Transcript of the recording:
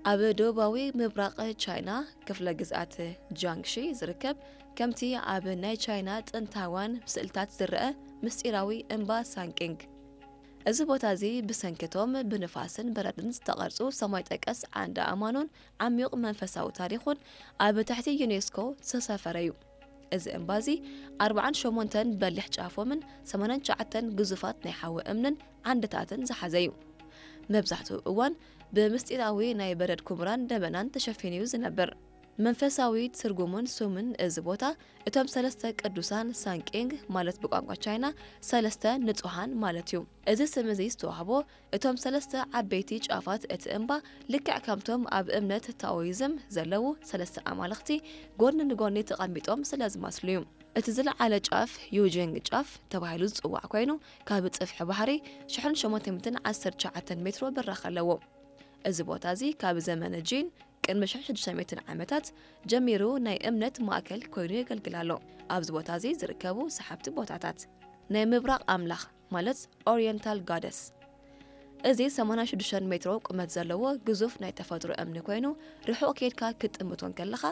ኣብ ደቡባዊ ምብራቕ ቻይና ክፍለ ግዝኣት ጃንግሺ ዝርከብ፣ ከምቲ ኣብ ናይ ቻይና ጥንታውያን ስእልታት ዝረአ ምስጢራዊ እምባ ሳንቂንግ። እዚ ቦታ እዚ ብሰንኪቶም ብንፋስን በረድን ዝተቐርጹ ሰማይ ጠቀስ ዓንዲ ኣእማኑን ዓሚቕ መንፈሳዊ ታሪኹን ኣብ ትሕቲ ዩኔስኮ ዝተሰፈረ እዩ። እዚ እምባ እዚ ኣርብዓን ሸሞንተን በሊሕ ጫፎምን ሰማንያን ትሽዓተን ግዙፋት ናይ ሓዊ እምንን ዓንድታትን ዝሓዘ እዩ። መብዛሕትኡ እዋን ብምስጢራዊ ናይ በረድ ኩምራን ደበናን ተሸፊኑ እዩ ዝነብር። መንፈሳዊ ትርጉሙን ስሙን እዚ ቦታ እቶም ሰለስተ ቅዱሳን ሳንቄንግ ማለት ብቋንቋ ቻይና ሰለስተ ንጹሃን ማለት እዩ። እዚ ስም እዚ ዝተዋህቦ እቶም ሰለስተ ዓበይቲ ጫፋት እቲ እምባ ልክዕ ከምቶም ኣብ እምነት ታኦይዝም ዘለዉ ሰለስተ ኣማልኽቲ ጎኒ ንጎኒ ተቐሚጦም ስለ ዝመስሉ እዩ። እቲ ዝለዓለ ጫፍ ዩጂንግ ጫፍ ተባሂሉ ዝጽዋዕ ኮይኑ ካብ ጽፍሒ ባሕሪ ሽሕን ሸሞንተ ሚእትን ዓሰርተ ትሽዓተን ሜትሮ ብራኸ ኣለዎ። እዚ ቦታ እዚ ካብ ዘመነ ጂን ቅድሚ ሽሕን ሽዱሽተ ሚእትን ዓመታት ጀሚሩ ናይ እምነት ማእከል ኮይኑ የገልግል ኣሎ። ኣብዚ ቦታ እዚ ዝርከቡ ሰሓብቲ ቦታታት ናይ ምብራቕ ኣምላኽ ማለት ኦሪየንታል ጋደስ። እዚ ሰማንያን ሽዱሽተን ሜትሮ ቁመት ዘለዎ ግዙፍ ናይ ተፈጥሮ እምኒ ኮይኑ ርሑቕ ኬድካ ክትጥምቶ እንከለኻ